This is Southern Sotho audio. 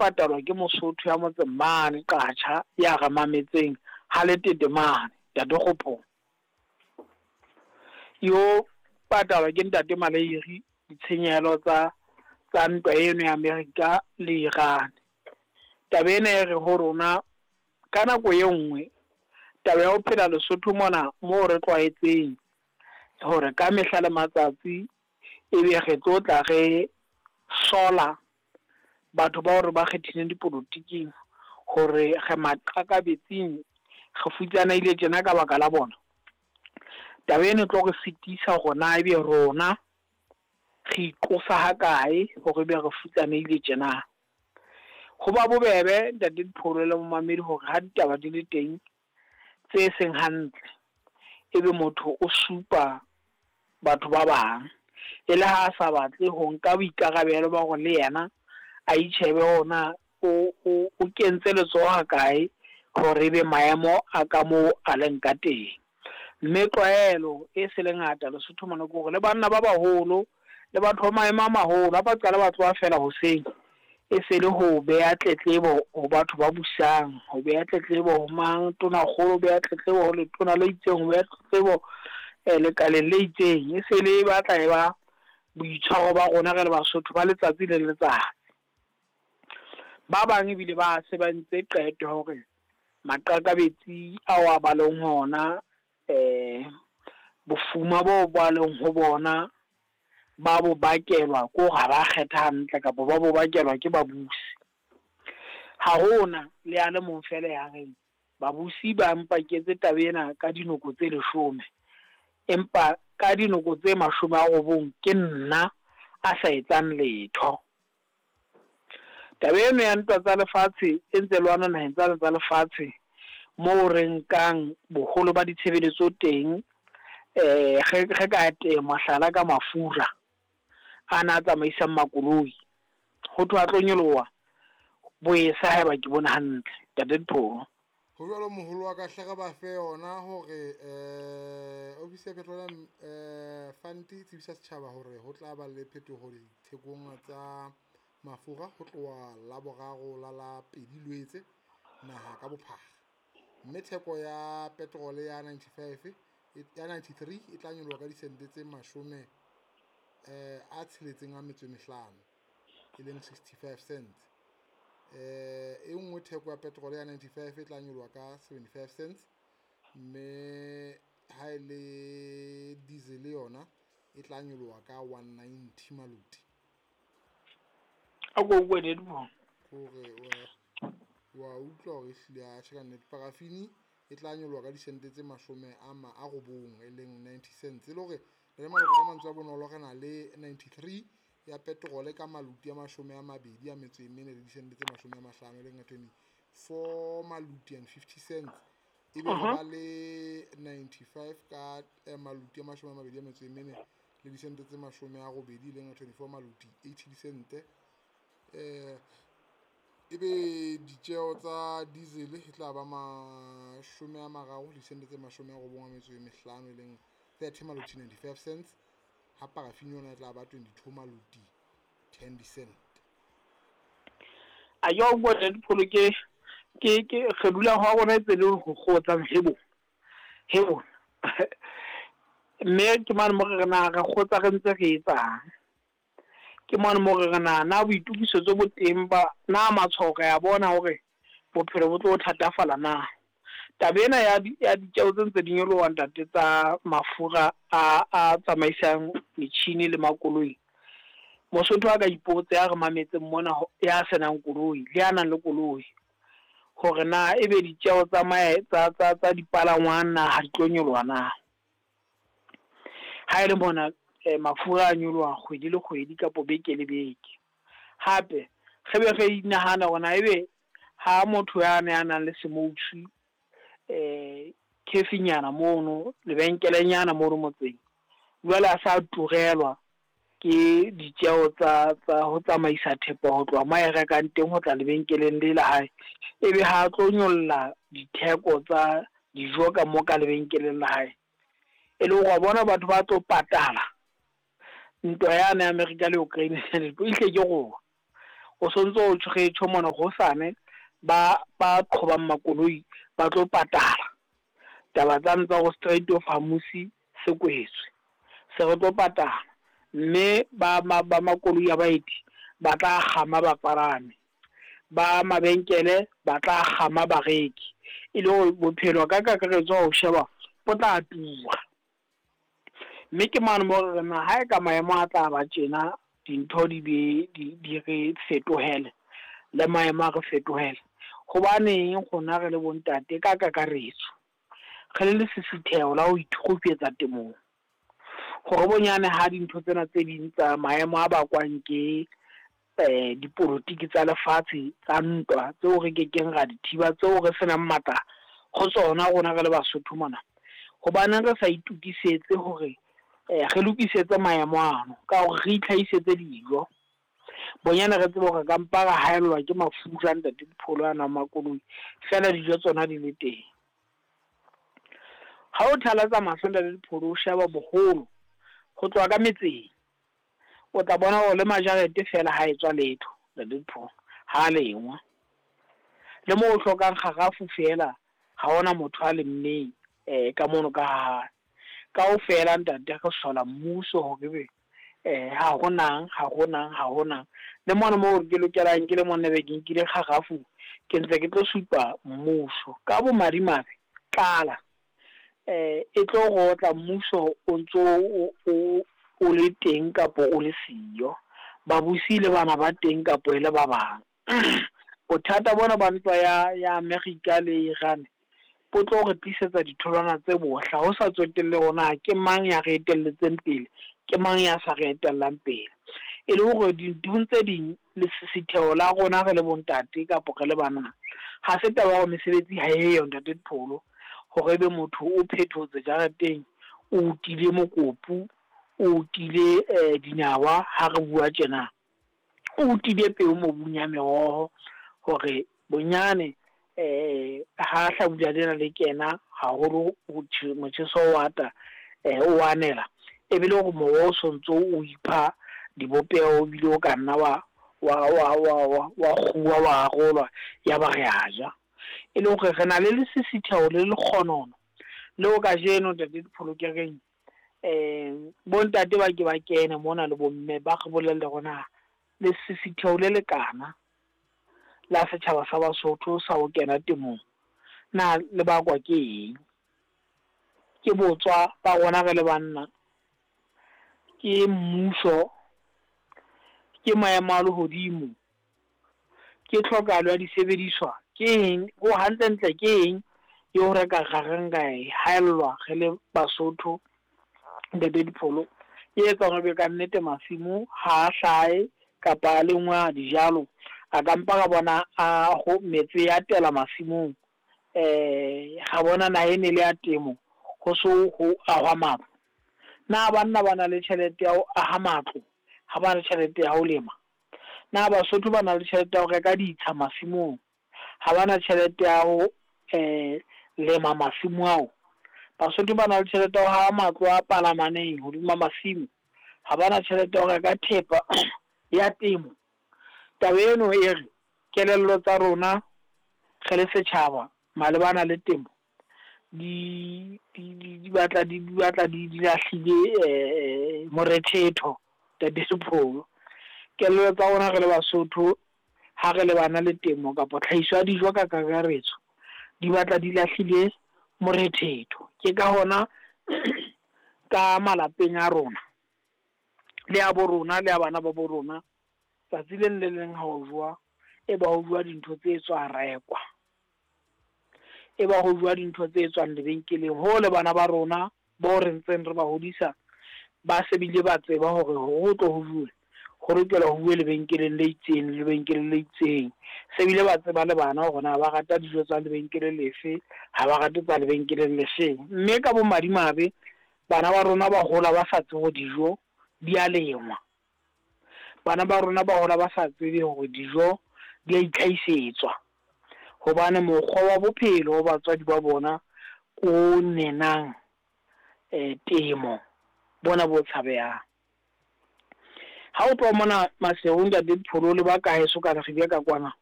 patalwa ke Mosotho ya motseng mane Qacha ya re mametseng ha Letete mane, Ntate Kgophong. Yo patalwa ke Ntate Maleiri ditshenyehelo tsa tsa ntwa eno ya Amerika le Iran. Taba ena e re ho rona ka nako e nngwe taba ya ho phela Lesotho mona moo re tlwaetseng hore ka mehla le matsatsi ebe re tlo tla re sola batho bao re ba kgethileng dipolotiking hore re maqakabetsing re futsanehile tjena ka baka la bona. Taba ena e tlo re sitisa hore na ebe rona re iqosa ha kae hore ebe re futsanehile tjena. Ho ba bobebe Ntate Dipholo le momamedi hore ha ditaba di le teng tse seng hantle, ebe motho o supa batho ba bang e le ha a sa batle ho nka boikarabelo ba hore le yena a itjhebe hore na o kentse letsoho ha kae hore ebe maemo a ka moo a leng ka teng. Mme tlwaelo e se le ngata Lesotho mona ke hore le banna ba baholo le batho ba maemo a maholo ha ba qala ba tloha fela hoseng e se le ho beha tletlebo ho batho ba busang, ho beha tletlebo ho mang tonakgolo, ho beha tletlebo ho letona le itseng, ho beha tletlebo lekaleng le itseng. E se le batla e ba boitshwaro ba rona re le Basotho ba letsatsi le letsatsi. Ba bang ebile ba se ba ntse qeto hore maqakabetsi ao a ba leng hona, bofuma bo ba leng ho bona ba bo bakelwa ke hore ha ba kgetha hantle kapa ba bo bakelwa ke babusi. Ha hona le a le mong fela ya reng babusi ba mpaketse taba ena ka dinoko tse 10, empa ka dinoko tse 90 ke nna a sa etsang letho. Taba eno ya ntwa tsa lefatshe e ntse lwana naheng tsane tsa lefatshe moo re nkang boholo ba ditshebeletso teng, re ka teng mohlala ka mafura ana a tsamaisang makoloi, ho thwe a tlo nyoloha boesa haeba ke bone hantle, Ntate Dipholo. Ho jwalo moholo wa ka, hle re ba fe yona hore ofisi ya Petroleum Fund e tsebisa setjhaba hore ho tla ba le phetoho dithekong tsa mafura ho tloha Laboraro la la 2 Loetse naha ka bophara. Mme theko ya petrol ya 95 ya 93 e tla nyoloha ka disente tse 65, e leng 65 cents. E nngwe theko ya petrol ya 95 e tla nyoloha ka 75 cents, mme ha e le diesel yona e tla nyoloha ka 190 maluti. A ko utlwe Ntate Dipholo. Hore wa utlwa hore ehlile a tjhe ka nnete parafini e tla nyoloha ka disente tse 90, e leng 90 cents. E le hore re le maloko ka mantswe a bonolo re na le 93 ya petrol ka maluti a 24 le disente tse 50, e leng 24 maluti and 50 cents. Ebe re ba le 95 ka maluti a 24 le disente tse 80, e leng 24 maluti 80 disente. Ebe ditjeo tsa diesel e tla ba 30 disente tse 95, e leng 30 maluti 95 cents. Ha parafini yona e tla ba 22 maluti 10 dicent. A yo bua Ntate Dipholo ke re dula ho rona e tsele ho kgotsa hebo. Hebo. Mme ke mane mo re na re kgotsa re ntse re etsang. Ke mane mo re na boitokisetso bo teng ba na matshwao re a bona hore bophelo bo tlo thatafala na. Taba ena ya ditjeo tse ntse di nyoloha ntate tsa mafura a tsamaisang metjhini le makoloi. Mosotho a ka ipotse ya re mametseng mona ya senang koloi le ya nang le koloi hore na ebe ditjeo tsa tsa dipalangwang na ha di tlo nyoloha na. Ha e le mona mafura a nyoloha kgwedi le kgwedi kapo beke le beke. Hape re be re inahana hore na ebe ha motho ya ne a nang le semousu kefinyana mono lebenkelenyana mono motseng jwale a sa turelwa ke ditjeo tsa ho tsamaisa thepa ho tloha mo a e rekang teng ho tla lebenkeleng le la hae, ebe ha tlo nyolla ditheko tsa dijo ka mo ka lebenkeleng la hae. E le hore wa bona batho ba tlo patala ntwa yane ya Amerika le Ukraine ehlile ke rona. O sontso o tjho mona hosane ba ba qhobang makoloi ba tlo patala. Taba tsane tsa hore Strait of Hormuz se kwetswe, se re tlo patala, mme ba ba makoloi a baeti ba tla kgama bapalami, ba mabenkele ba tla kgama bareki, e le hore bophelo ka kakaretso ha o sheba bo tla tura. Mme ke mane mo re reng ha e ka maemo a tla ba tjena, dintho di be di re fetohele le maemo a re fetohele, hobaneng rona re le bontate ka kakaretso re le lesisitheho la ho ithukgupetsa temong, hore bonyane ha dintho tsena tse ding tsa maemo a bakwang ke dipolotiki tsa lefatshe tsa ntwa tseo re kekeng ra di thiba, tseo re senang matla ho tsona rona re le Basotho mona, hobaneng re sa itukisetse hore re lokisetse maemo ano ka hore re itlhahisetse dijo, bonyane re tsebe hore ka mpa ra haellwa ke mafura ntate Dipholo ana a makoloi, feela dijo tsona di le teng. Ha o thalatsa mahlo ntate Dipholo, o sheba boholo ho tloha ka metseng, o tla bona hore le majarete feela ha etswa letho ntate Dipholo, ha lengwa. Le moo o hlokang kgarafu feela ha hona motho a lemmeng ka mono ka hae. Kaofela ntate re sola mmuso hore ebe ha ho nang, ha ho nang, ha ho nang. Le mona moo ke lokelang ke le monna be ke nkile kgarafu, ke ntse ke tlo supa mmuso. Ka bomadimabe tlala e tlo rotla mmuso o ntso o le teng kapa o le siyo, babusi le bana ba teng kapa e le ba bang. Bothata bona ba ntwa ya America le Iran bo tlo re tlisetsa ditholwana tse bohla, ho sa tsotelle hore na ke mang ya re etelletseng pele, ke mang ya sa re etellang pele. E le hore dinthong tse ding lesisitheho la rona re le bontate kapa re le banna, ha se taba ya hore mesebetsi ha eyo ntate Dipholo, hore ebe motho o phethotse jareteng, o utile mokopu, o utile dinawa ha re bua tjena, o utile peo mobung ya meroho hore bonyane ha hlabula lena le kena haholo motjheso o ata, o anela, e be le hore moroho o sontso o ipha dibopeho, ebile o ka nna wa kguwa wa arolwa ya ba re a ja. E le hore re na le lesisitheho le lekgonono leo kajeno ntate Dipholo ke reng bontate ba ke ba kene mona le bomme ba re bolelle hore na lesisitheho le lekana la setjhaba sa Basotho sa ho kena temong na le bakwa ke eng? Ke botswa ba rona re le banna, ke mmuso, ke maemo a lehodimo, ke tlhokahalo ya disebediswa, ke eng ho hantlentle, ke eng eo re ka rareng ra e haellwa re le Basotho ntate Dipholo, e etsang hore ka nnete masimo ha a hlahe kapa a lengwa dijalo, a ka mpa ra bona a ho metse ya tela masimong, ga bona naha e ne le ya temo ho so ho ahwa matlo. Na banna ba na le tjhelete ya ho aha matlo, ha ba na tjhelete ya ho lema? Na Basotho ba na le tjhelete ya ho reka ditsha masimong, ha ba na tjhelete ya ho lema masimo ao? Basotho ba na le tjhelete ya ho haha matlo a palamaneng hodima masimo, ha ba na tjhelete ya ho reka thepa ya temo? Taba eno e re kelello tsa rona re le setjhaba malebana le temo di batla di lahlile morethetho ntate Sepholo. Kelello tsa rona re le Basotho ha re lebana le temo kapa tlhahiso ya dijo ka kakaretso di batla di lahlile morethetho. Ke ka hona ka malapeng a rona le a bo rona le a bana ba bo rona, tsatsi le leng le leng ha ho jowa, e ba ho jowa dintho tse tswa rekwa, e ba ho jowa dintho tse tswang lebenkeleng, hole bana ba rona bao re ntseng re ba hodisa ba se bile ba tseba hore ho tlo ho jowe, ho lokela ho uwe lebenkeleng le itseng, lebenkeleng le itseng. Se bile ba tseba le bana hore na ba rata dijo tsa lebenkele lefe, ha ba rate tsa lebenkeleng le feng. Mme ka bomadimabe bana ba rona ba hola ba sa tsebe dijo di a lengwa. Bana ba rona ba hola ba sa tsebe hore dijo di a itlhahisetswa, hobane mokgwa wa bophelo wa batswadi ba bona o nenang temo bona bo tshabehang. Ha o tloha mona Maseru, ntate Pholo, le ba ka heso ka Leribe ka kwana.